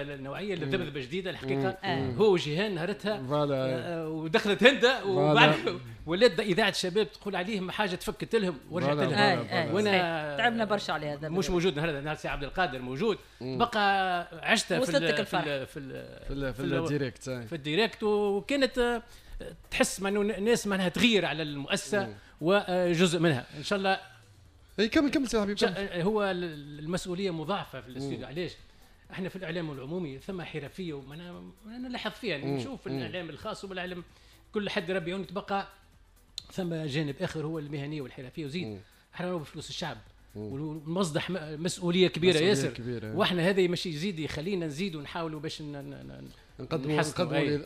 النوعية اللي ذبذبة جديدة الحقيقه. هو وجيهان نهارتها ودخلت هنده وبعد ولات اذاعة الشباب تقول عليهم حاجة تفكت لهم ورجعت لهم. وانا تعبنا برشا على هذا. مش موجود نهار سي عبد القادر موجود بقى عشتها في ال في ال في, في ال direct في ال direct، وكانت تحس انه الناس معناها تغير على المؤسسة وجزء منها ان شاء الله. اي كمل كمل سي حبيب. هو المسؤولية مضاعفه في الاستوديو. علاش؟ احنا في الاعلام العمومي ثم حرفية ومعناها نلاحظ فيها، يعني نشوف الاعلام الخاص والاعلام كل حد ربي يعون، تبقى ثم جانب اخر هو المهنية والحرفيه. وزيد احنا بفلوس الشعب والمصدح مسؤولية كبيرة ياسر كبيرة. واحنا هذا ماشي يزيد يخلينا نزيد ونحاولوا باش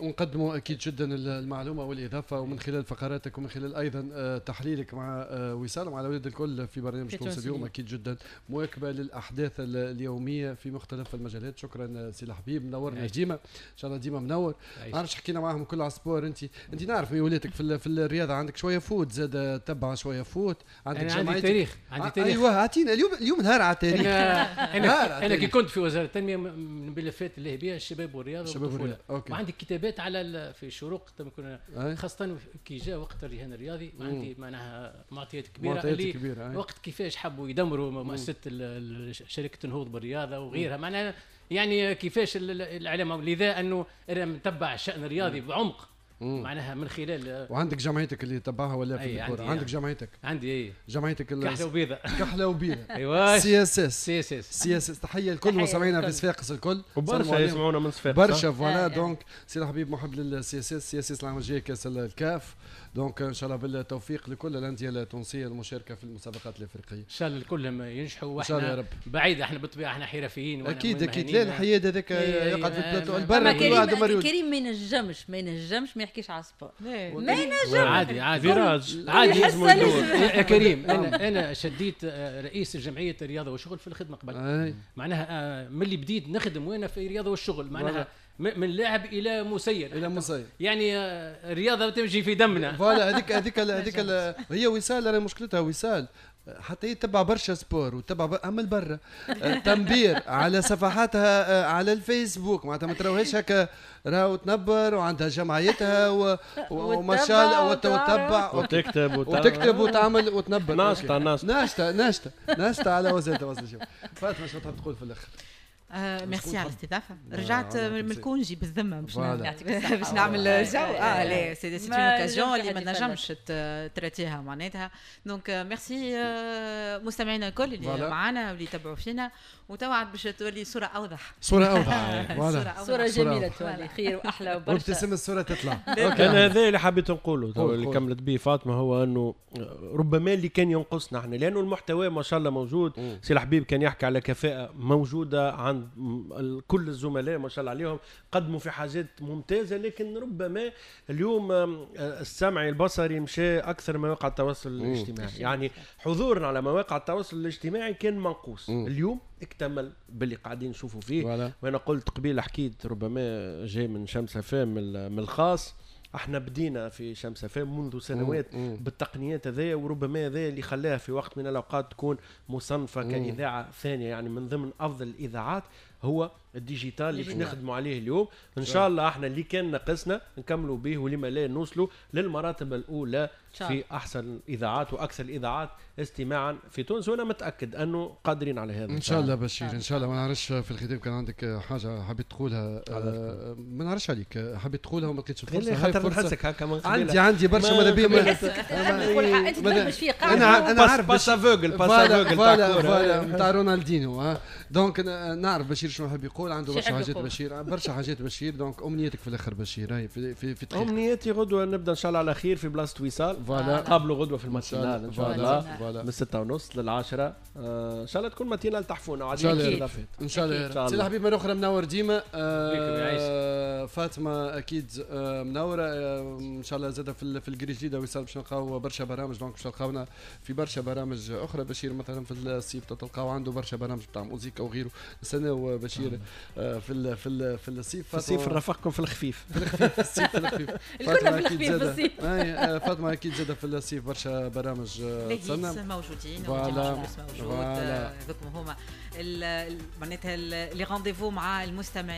نقدموا اكيد جدا المعلومة والاضافة، ومن خلال فقراتك ومن خلال ايضا تحليلك مع وصال ومع الاولاد الكل في برنامج تونس اليوم، اكيد جدا مواكبة للاحداث اليومية في مختلف المجالات. شكرا سي الحبيب، منورنا ديما ان شاء الله ديما منور. ما نعرفش حكينا معاهم كل على ال sport، انت نعرف ميولاتك في الرياضة، عندك شوية foot زاد تبع شوية foot، عندك جمعيتك. عندي تاريخ، عندي تاريخ. ايوه اعطينا اليوم نهار على التاريخ. انا كي كنت في وزارة التنمية من الملفات اللي هي بها الشباب والرياضة وعندي كتابات على في شروق خاصة كي جاء وقت الرهان الرياضي، عندي معناها معطيات كبيرة اللي كبيرة. وقت كيفاش حبوا يدمروا مؤسسة شركة النهوض بالرياضة وغيرها، معناها يعني كيفاش الاعلام، لذا انه انا متبع الشان الرياضي بعمق معناها من خلال. وعندك جمعيتك اللي تبعها ولا في الكره؟ عندك جمعيتك؟ عندي اي جمعيتك كحلة وبيضه. كحلة وبيضه ايوا سي اس اس سي اس اس سي اس اس. تحية لكل مستمعينا في صفاقس الكل، وبرشا يسمعونا من صفاقس برشا. voilà donc سي الحبيب محب للسي اس اس، سي اس اس العام الجاي كاس الكاف، donc ان شاء الله بالتوفيق لكل الاندية التونسية المشاركة في المسابقات الافريقية. ان شاء الله الكل ينجحوا، واحنا بعيد احنا بالطبيعة احنا حرفيين. اكيد اكيد، لا الحياد هذاك يقعد في البلاتو البر. كريم ما ينجمش ما يحكيش على sport، ما ينجمش. عادي عادي virage عادي يا كريم. انا شديت رئيس جمعية الرياضة والشغل في الخدمة قبل، معناها من اللي بديت نخدم وانا في الرياضة والشغل، معناها من لاعب الى مسير الى مسير، يعني الرياضة تمشي في دمنا. voilà هذيك هذيك هي وصال، انا مشكلتها وصال حتى هي تبع برشا sport وتبع اما البرة تنبير على صفحاتها على الفيسبوك، معناتها ما تراوهاش هكا راهو تنبر وعندها جمعيتها وما شاء الله وتتبع وتكتب وتعمل وتنبر. ناشطة ناشطة ناشطة ناشطة على وسائل التواصل الاجتماعي. فاطمة شنو تحب تقول في الاخر؟ ميرسي على الاستضافة. رجعت من ال congé بالذمه باش نعمل جو. لا c'est une occasion اللي ما نجمش تراتيها معناتها. donc merci مستمعينا الكل اللي معنا واللي يتبعوا فينا، وتوعد باش تولي صوره اوضح. صوره اوضح، صوره جميلة تولي خير واحلى وبرشا، وابتسم الصورة تطلع. انا هذا اللي حبيت نقوله اللي كملت به فاطمة، هو انه ربما اللي كان ينقصنا احنا، لانه المحتوى ما شاء الله موجود. سي الحبيب كان يحكي على كفاءة موجودة عند كل الزملاء ما شاء الله عليهم، قدموا في حاجات ممتازة، لكن ربما اليوم السمعي البصري مشى اكثر مواقع التواصل الاجتماعي، يعني حضورنا على مواقع التواصل الاجتماعي كان منقوص. اليوم اكتمل باللي قاعدين نشوفوا فيه. وانا قلت قبيل حكيت ربما جاي من شمس فام من الخاص، احنا بدينا في شمس فام منذ سنوات بالتقنيات هذيا، وربما هذا اللي خلاها في وقت من الاوقات تكون مصنفه كاذاعه ثانية، يعني من ضمن افضل الاذاعات هو ال digital اللي باش نخدموا عليه اليوم. ان شاء الله احنا اللي كان ناقصنا نكملوا به، ولما لا نوصلوا للمراتب الاولى في احسن الاذاعات واكثر الاذاعات استماعا في تونس، وانا متاكد انه قادرين على هذا ان شاء الله. بشير ان شاء الله. ما نعرفش في الختام كان عندك حاجة حبيت تقولها؟ ما نعرفش عليك حبيت تقولها وما لقيتش الفرصة. خاطر نحسك هكا من عندي برشا ماذا بيا. انت تفهمش فيه قاعد. انا عارف passe aveugle passe aveugle voilà نتاع رونالدينو. donc نعرف بشير شنو حاب يقول، عنده برشا حاجات بشير، برشا حاجات بشير. donc امنيتك في الاخر بشير هاي في دقيقة. امنيتي غدوه نبدا ان شاء الله على خير في بلاصة وصال، قابلوا غدوه في ال matinale ان شاء الله من 6:30 لل10. ان شاء الله تكون matinale تحفونا وعديد الاضافات ان شاء الله. سي الحبيب مرة اخرى منور ديما. فاطمة اكيد منوره، ان شاء الله زاد في ال grille الجديدة وصال باش نلقاو برشا برامج، donc باش تلقاونا في برشا برامج اخرى. بشير مثلا في الصيف تلقاو عنده برشا برامج بتاع موزيكا وغيره. نستناو بشير في الصيف. في الصيف نرافقكم في الخفيف. في الخفيف، في الصيف في الخفيف. الكل في الخفيف في الصيف. فاطمة اكيد زاد في الصيف برشا برامج. تسنى موجودين، موجود هذوك هما معناتها les rendez-vous مع المستمعين.